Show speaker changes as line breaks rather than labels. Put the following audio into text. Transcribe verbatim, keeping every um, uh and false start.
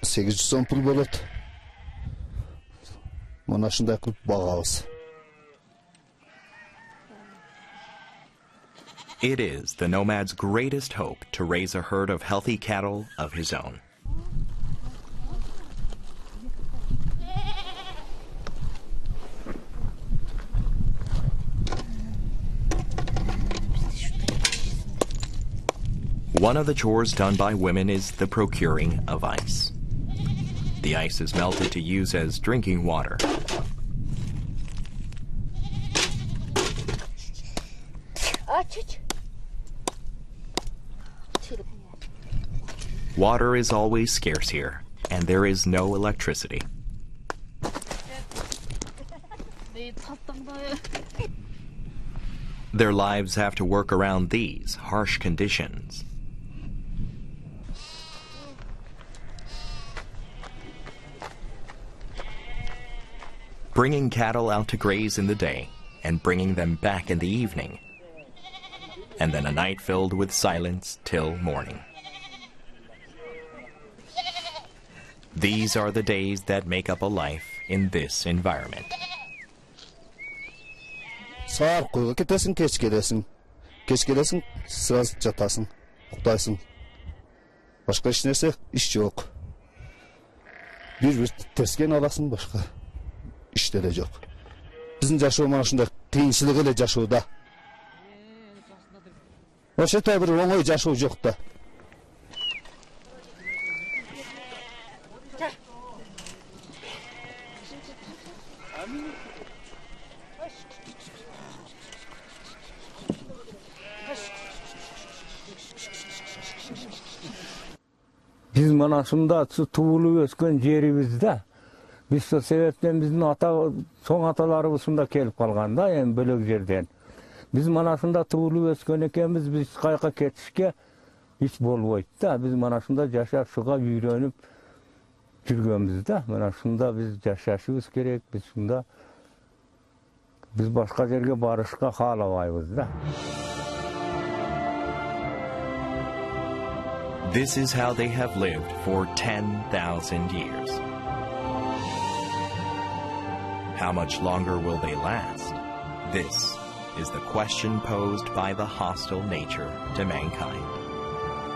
сегиз жүз сом пул болот. Мына ушундай кылып багабыз.
It is the nomad's greatest hope to raise a herd of healthy cattle of his own. One of the chores done by women is the procuring of ice. The ice is melted to use as drinking water. Water is always scarce here, and there is no electricity. Their lives have to work around these harsh conditions. Bringing cattle out to graze in the day and bringing them back in the evening, and then a night filled with silence till morning. These are the days that make up a life in this environment.
Саар койго кетесиң, кеч келесиң. Кеч келесиң, сразу жатасың, уктайсың. Башка эч нерсе, иш жок. Бир-бир тескен аласың, башка иштер жок. Биздин жашоо мына ушундай кыйынчылык эле жашоодо. Ошондой бир оңой жашоо жок да.
Биз мына ушунда туулуп өскөн жерибизде. Биз сол себептен биздин ата соң аталарыбыз ушунда келип калган да, эми бөлөк жерден. Биз мына ушунда туулуп өскөн экенбиз, биз кайка кетишке ич болбойт да. Биз мына ушунда жашап шуга үйрөнүп жүргөнбүз да. Мына ушунда биз жашашыбыз керек, биз ушунда биз башка жерге барышка каалабайбыз да.
This is how they have lived for ten thousand years. How much longer will they last? This is the question posed by the hostile nature to mankind.